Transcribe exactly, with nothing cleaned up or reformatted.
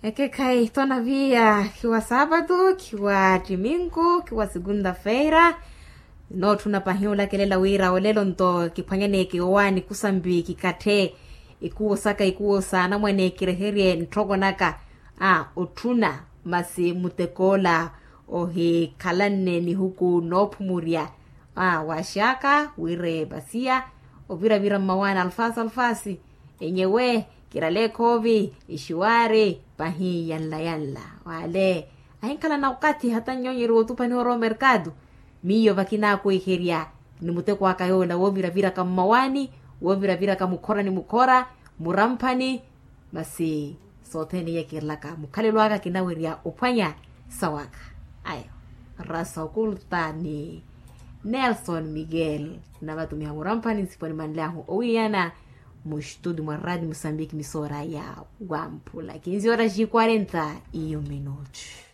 Ekekhayi tonaviya, khiwa saapatu, khiwa ttiminku, khiwa sikunta-feira. Nootthuna pahi olakelela wira olelo nto kiphwanyaneeke owaani kusambi kikatthe ikuwo saka ikuwo s'anamwane kireherye ntthoko naka a otthuna. Masi mutek'ola ohikhalanne nihuku noophumurya a waxaka wira epasiya oviravira mmawaani alfaasi alfaasi. Enyewe kirale ekhoovi exiwari pahi yanla yanla wale ahinkhalana okathi hata nnyonyeriwa otuphaniwa orowa omerkatu. Miyo vakinakwiherya ni muteko aka yoola wooviraviraka mmawaani wooviraviraka mukhora ni mukhora muramphani. Masi sothene iye kiirelaka mukhalelo aka kinawerya ophwanya sawaka ayo rasa okulta ni nelson miguel. Navatumiha muramphani nsiponi manlyahu owiyana mustudio mwa radio musambiki misoora ya wamphula kinzi ora ji quarenta iyo minuti.